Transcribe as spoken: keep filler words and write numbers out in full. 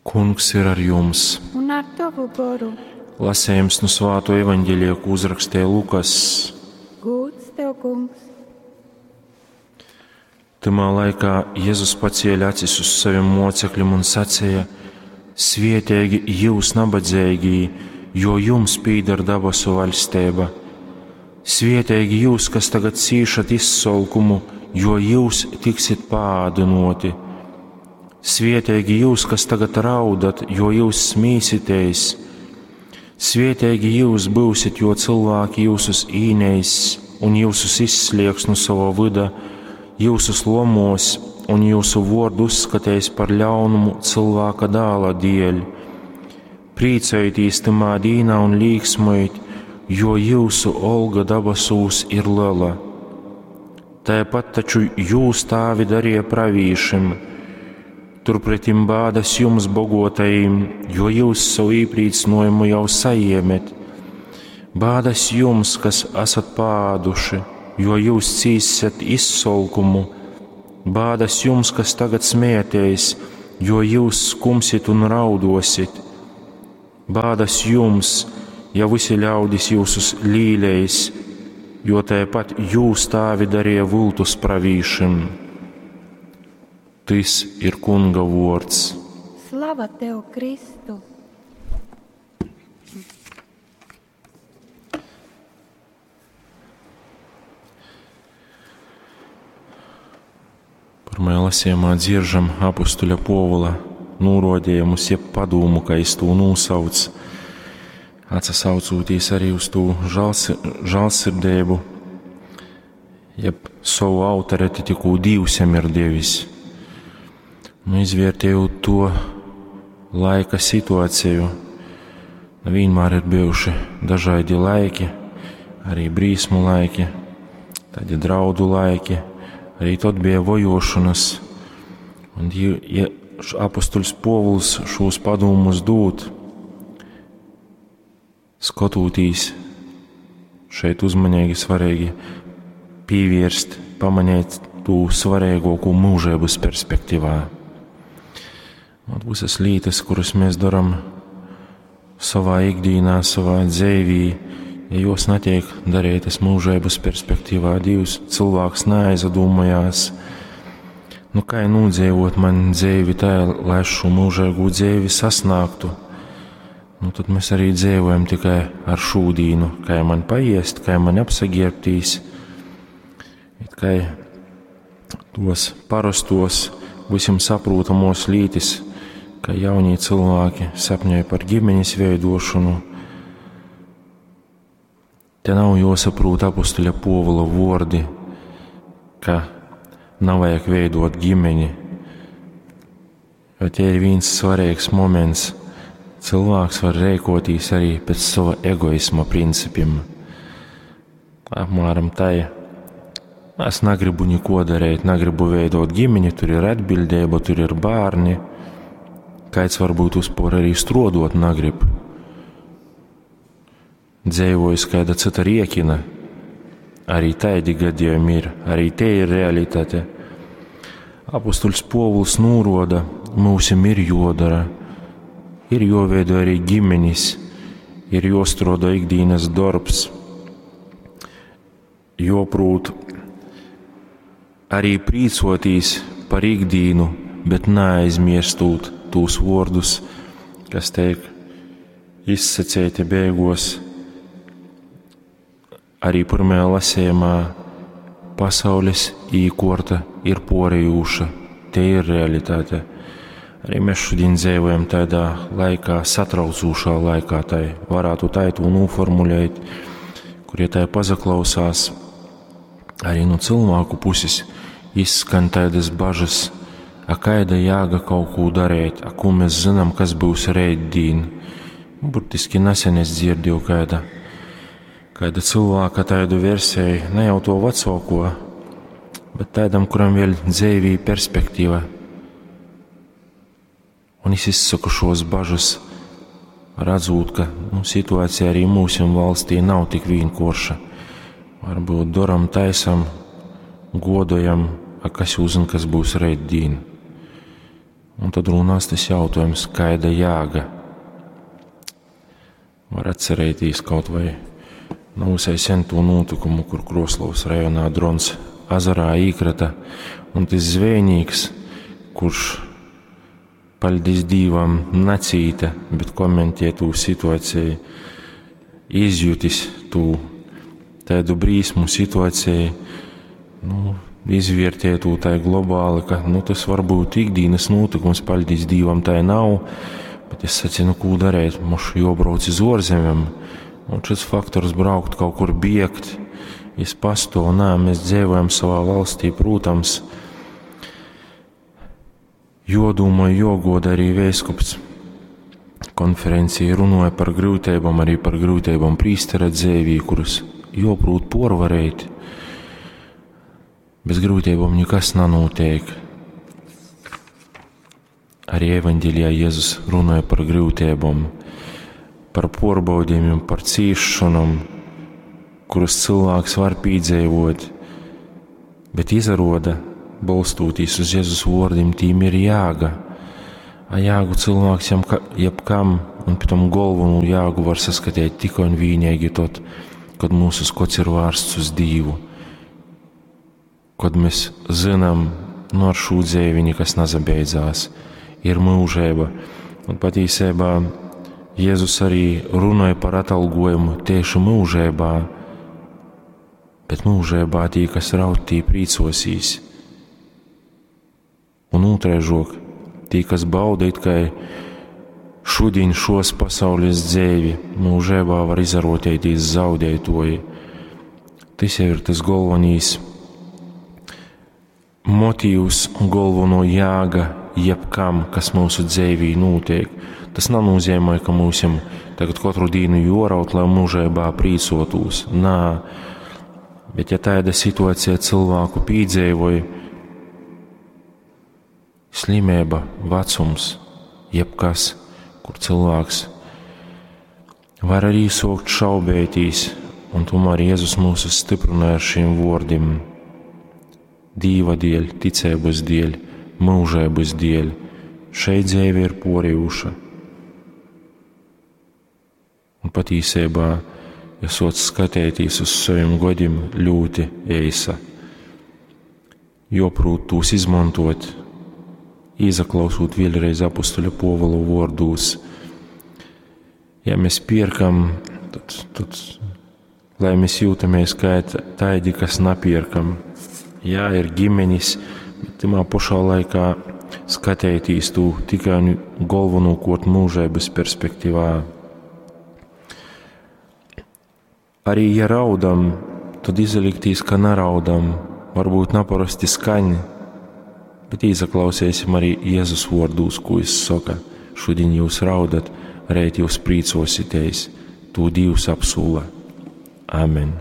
Kungs ir ar jums! Un ar tovu goru. Lasējums nu Svāto evaņģēlija, ko uzrakstīja Lukas. Gūds tev, kungs! Tymā laikā Jēzus pacēla acis uz saviem mocekļiem un sacīja: Svietīgi jūs nabadzīgī, jo jums pīdar dabasu vaļstība. Svietīgi jūs, kas tagad cīšat izsolkumu, jo jūs tiksit paādinoti. Svietīgi jūs, kas tagad raudat, jo jūs smīsitēs. Svietīgi jūs būsit, jo cilvēki jūsus īneis un jūsus izslieks no sava vida, jūsus lomos un jūsu vordu uzskatēs par ļaunumu cilvēka dāla dēļ. Priecājieties tamā dīnā un līksmojiet, jo jūsu olga dabasūs ir liela. Tāpat taču jūs tāvi darīja pravīšim. Turpretim bādas jums bogotajiem, jo jūs savu īprīcinājumu jau saiemet. Bādas jums, kas esat pāduši, jo jūs cīsiet izsolkumu. Bādas jums, kas tagad smēties, jo jūs skumsit un raudosit. Bādas jums, ja visi ļaudis jūsus līleis, jo tāpat jūs tāvi darīja vultus pravīšim. Tys ir Kunga vords. Slava tev, Kristu! Pirmajā lasījumā dzieržam apustuļa Povula nūrodējumus, jeb padūmu, ka es to nūsauc, atsasaucoties arī uz to žāls, žālsirdību, jeb savu autoriti, ko Dievs jam ir devis. Nu, izvērtējot to laika situāciju, nu, vienmēr ir bijuši dažādi laiki, arī brīsmu laiki, tādi draudu laiki, arī tad bija vojošanas. Un, ja apustuļs Povuls šos padomus dod, skatoties šeit uzmanīgi svarīgi pievērst, pamanīt to svarīgāko mūžības perspektīvā. Un visas lietas, kuras mēs darām savā ikdienā, savā dzīvī, ja jos netiek darītas mūžības perspektīvā, Dievs cilvēks neaizdomājās, nu kā nodzīvot man dzīvi tā, lai es šo mūžīgo dzīvi sasniegtu. Nu, tad mēs arī dzīvojam tikai ar šūdīnu, kā man paiest, kā man apsaģērbtīs, it kā tos parastos, visiem saprotamos lītis, ka jaunie cilvēki sapņoja par ģimenes veidošanu. Te nav jāsaprot apustuļa Povula vordi, ka nav vajag veidot ģimeni, jo te ir viens svarīgs moments. Cilvēks var rēkotīs arī pēc sava egoisma principiem. Apmēram tā. Es negribu neko darīt, negribu veidot ģimeni, tur ir atbildība, tur ir bērni. Kāds varbūt uzpor arī strodot negrib. Dzīvojas kāda cita riekina. Arī tādi gadījumi ir, arī te ir realitāte. Apustuļs Povuls nūroda, mūsim ir jodara, ir joveido arī ģimenis, ir jostrodo ikdienas darbs, joprūt arī prīcotīs par ikdīnu, bet neaizmirstūt tūs vārdus, kas tiek izsacēti beigos. Arī pirmajā lasījumā pasaules īkorta ir porejūša, te ir realitāte. Arī mēs šodien dzīvojam tādā laikā, satraucošā laikā, tai varētu tā to noformulēt, kur ja tā pazaklausās, arī no cilvēku puses izskan tādas bažas, a kaida jāga kaut ko darīt, a ko mēs zinām, kas būs rītdien. Burtiski nesen es dzirdēju kāda, kāda cilvēka tādu versiju, ne jau to vecāko, bet tādam, kuram vēl dzīvī perspektīva. Un es izsaku šos bažas, redzot, ka nu, situācija arī mūsu valstī nav tik vienkārša. Varbūt daram, taisam, godojam, a kas uzzina, kas būs rītdien. Un tad rūnās tas jautājums, kaida jāga? Var atcerēties kaut vai nav visai sen to notikumu, kur Kroslovas rajonā drons azarā īkrata, un tas zvejnīks, kurš, paļdis Dīvam, nacīta, bet komentē tū situāciju, izjutis tū tādu brīsmu situāciju, nu, izvērtē tū tai globāli, ka, nu, tas varbūt ikdienas notikums, paļdis Dīvam, tai nav, bet es sacīju, nu, ko darēt, mums jobrauc iz ārzemēm, un šis faktors braukt kaut kur biegt, es pastāvu, nē, mēs dzīvojam savā valstī, protams, jodomāju, jogoda arī vēskups konferencija runāja par grūtībām, arī par grūtībām prīstera dzēvī, kuras joprūt porvarēt. Bez grūtībām nekas nenotiek. Arī evaņģēlijā Jēzus runāja par grūtībām, par porbaudījumiem, par cīšanām, kuras cilvēks var piedzīvot, bet izaroda, balstoties uz Jēzus vārdiem, tīm ir jāga. A jāgu cilvēks jam, jebkam, un pie tam galveno jāgu var saskatīt tikai un vienīgi tad, kad mūsu skots ir vērsts uz Dievu. Kad mēs zinām, nu ar šo dzīvi nekas nezabeidzās, ir mūžība. Un patiesībā Jēzus arī runāja par atalgojumu tieši mūžībā, bet mūžībā tī, kas raud, tī prīcosīs. Un otraižok, tī, kas bauda it kā šodien šos pasaules dzīvi, mūžībā var izarotēties zaudētoji. Tas jau ir tas galvenais motīvs un galveno jāga jebkam, kas mūsu dzīvī notiek. Tas nenozīmē, ka mums tagad katru dienu joraut, lai mūžībā prīcotos. Nā, bet ja tāda situācija cilvēku pīdzīvoja, slimība, vecums, jebkas, kur cilvēks var arī sokt šaubētīs, un tomēr Jēzus mūs stiprināja ar šiem vārdiem. Dīva dēļ, ticības dēļ, mūžības dēļ, šeit dzīve ir porījuša. Un patiesībā, ja soc skatēties uz saviem godiem, ļoti eisa. Joprūt tūs izmantot, izaklausot vēlreiz apustuļa Pōvula vārdus. Ja mēs pierkam, tad, tad lai mēs jūtamies kā tādi, kas napierkam. Jā, ir ģimenis, bet timā pašā laikā skatētīs tu tikai un galvenokārt mūžības perspektīvā. Arī ja raudam, tad izliktīs, ka neraudam, varbūt naparasti skaņ, bet izaklausīsim arī Jēzus vārdus, ko viņš saka. Šodien jūs raudat, reit jūs prīcosieties, to Dievs apsūla. Amen.